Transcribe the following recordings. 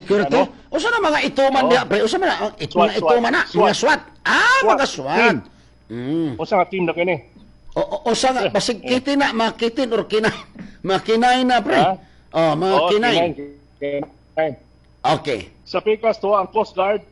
Security. No? Usa na mga ituman Oo. diha, pre? Usa man na SWAT, mga ituman na, SWAT. mga SWAT. Ah, SWAT mga SWAT. team. Usa nga team na kini. O usa nga basig kiti na, mga kitin or kinay. Mga kinay na, pre. Ha? Oh, mga Oo, kinay. Kinay, kinay. Sa pikas to ang Coast Guard,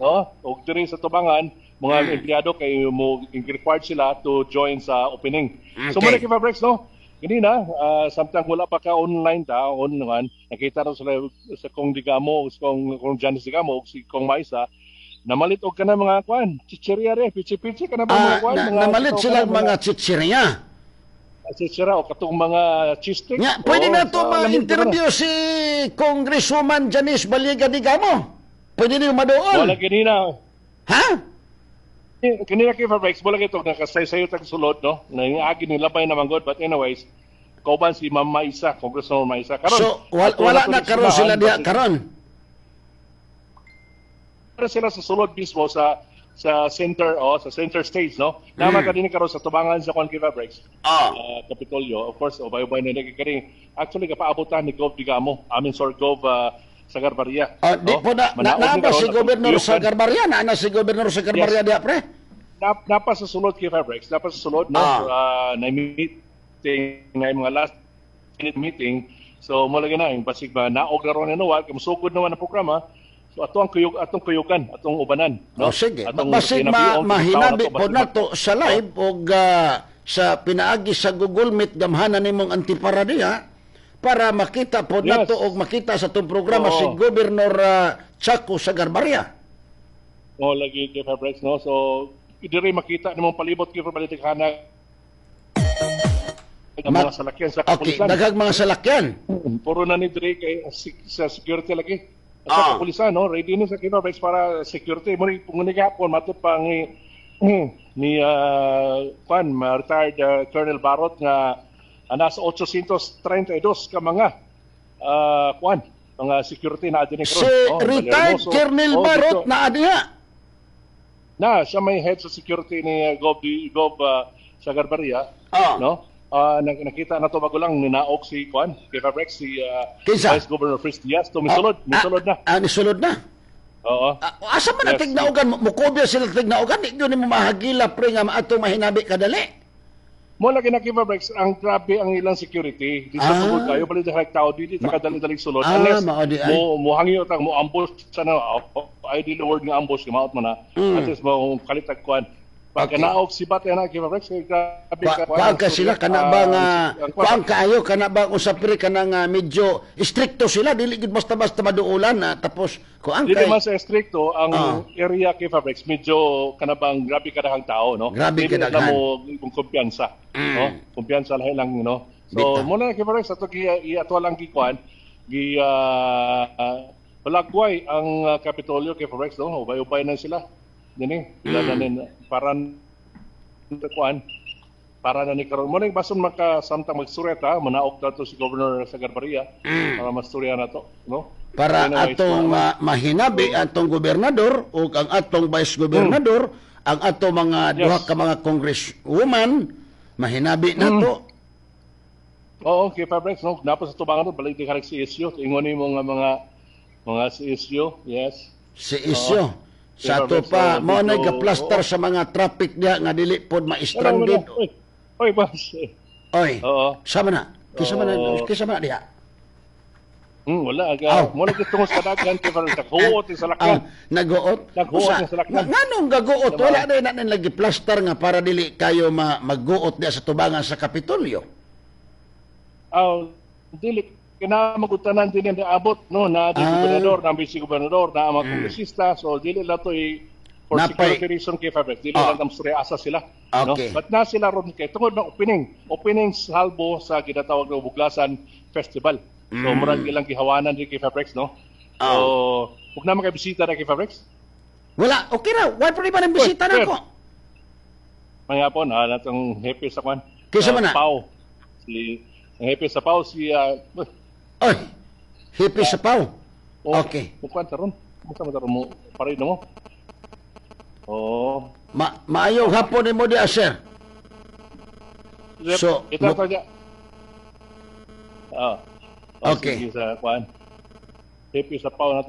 no? Og diri sa tubangan mga empleyado kay mo required sila to join sa opening. So mo na Breaks, no? Kanina, samtang wala pa ka online ta, online, nakita raw sila sa Kong Degamo, sa Kong Janice Degamo, si Kong Maisa, namalit og kana mga kwan, chichirya re, pichi-pichi kana ba mga kwan, na, mga namalit kana sila mga chichirya. Chichirya o katong mga cheese stick. Nga, pwede Oo, na to sa lamig ma-interview si Congresswoman Janice Baliga Degamo. Pwede niyo madoon. Wala kanina. Ha? Kanina kay Fabrics, wala kito nakasay-sayo tag sulod, no? Nangagi ni labay naman god, but anyways, kauban si Ma'am Maisa, Congresswoman Maisa. Karon, So, ato wala na na to karon sila diha basig- karon. Pero sila sa sulod mismo sa center, oh, sa center stage, no? Naman ka din karon sa tubangan sa Con Fabrics. Kapitolyo, of course, ubay-ubay na naging kani. Actually, kapaabutan ni Gov Degamo, I mean, Sir Gov Sagarbarria. Ah, di no? po na, na, Manaog na ni ba karon si atong Governor kuyukan. Sagarbarria? Na na si Governor Sagarbarria Yes. diha, pre? Napa sa sulod kay Fabrics, napa sa sulod, no? Na meeting, na yung mga last minute meeting. So, mo lagi na, yung basig ba, naog na ron na nuwal, kay musugod naman ang programa. So, ato ang kuyog, atong kuyugan, atong ubanan, no? Oh, sige. Atong Basig kinabiong, mahinabi tao po na to, nato sa live og sa pinaagi sa Google Meet gamhanan nimong antipara diha para makita po nato og makita sa atong programa si Governor Chaco Sagarbarria. Oh, lagi kay Fabrics, no? So, diri makita nimong palibot kay Fabrics hana ang mga salakyan sa kapulisan. Daghang mga salakyan. Puro na ni diri kay sa security lagi. Sa kapulisan, no? Ready ni sa Fabrics para security. Muni muni gapon matut pa ni kwan, retired Colonel Barot nga nasa 832 ka mga kwan, mga security na adini karon. Si Oh, retired Valermoso. Colonel Oh, Barot dito. na diha. Na siya may head sa security ni Gov Sagarbarria, no? Nakita na to bago lang ninaog si kwan, kay Fabrex, si Kinsa? Vice Governor Fritz Diaz to misulod, misulod na. Ah, nisulod na. Oo. Ah, asa man na Yes. tignaugan? Mukobya sila tignaugan? Di gyud nimo mahagila, pre, nga maato mahinabi kadali. Mo lagi na kay Fabrex, ang grabe ang ilang security. Di sa tungod kayo bali dahil tao dili ta kadali-dali sulod Ah, unless mao di ay. mo mo hangyo tang mo ambush sa na, ay dili word nga ambush, maot man na. At least mo kalitag kwan. Pag naog si Bat na kay Fabrex, kay grabe ka Kuan ka sila kana ba nga ang kwan. kuan kaayo kana ba usap, pre, kana nga medyo strikto sila, dili gid basta-basta maduulan na tapos kuan Dili kay man sa stricto ang area kay Fabrex, medyo kana bang grabe kadahang tao, no? Grabe Dili na kadaghan. mo kung kumpiyansa, no? Kumpiyansa lahi lang, no? So Bitaw. mo na kay Fabrex ato gi ato lang gi kuan gi balagway ang Kapitolyo kay Fabrex, no? Ubay-ubay na sila. Dini, mm. na nin para kuan para na ni karon mo ning bason maka samtang magsureta manaog na to si Governor Sagarbarria para masturya na to, no? Para Anyways, atong mahinabi atong gobernador ug ang atong vice gobernador, ang atong mga duha ka mga congresswoman, mahinabi nato. Oo, okay, Fabrex, no? Napa sa tubangan no, balik di ka si issue. Ingon nimo nga mga si issue, yes. Si isyo sa ato Fabrex, pa oo, mao na dito, gaplastar oo. sa mga traffic diha nga dili pod ma-stranded. Wala, wala. Oy, oy, boss. Oy. Oo. Sama na. Kisa man na, Oo. kisa man na diha. Wala aga. Aw. Mo lagi tungod sa daghan kay Fabrex. Naghuot sa salakyan. Ah, naguot. Naghuot Usa, ang salakyan. Nganong gaguot? Diba? Wala na na lagi plaster nga para dili kayo magguot diha sa tubangan sa Kapitolyo. Aw, dili kinamagutanan din ang abot, no, na di gobernador, na vice gobernador, na ang mga kongresista, so dili lang to for security reason kay Fabrex. Dili lang tam asa sila. No? But na sila ron kay tungod ng opening, opening salbo sa ginatawag na Buglasan Festival. So murag ilang gihawanan din kay Fabrex, no? So, ug na mga bisita na kay Fabrex. Wala, okay ra. Why pa ba ng bisita Uy, na ko? Mayapon, ha, natong happy sa kwan. Kinsa man na? Pau. Si ang happy sa Pau si Oy. Happy sa Pau. Oh, Okay. Mo kwan taron. Mo sa taron mo pare mo. Oh. Maayong hapon nimo diha, sir. So, ito to niya. Ah. Oh, Okay. Sige sa kwan. Happy sa Pau na to.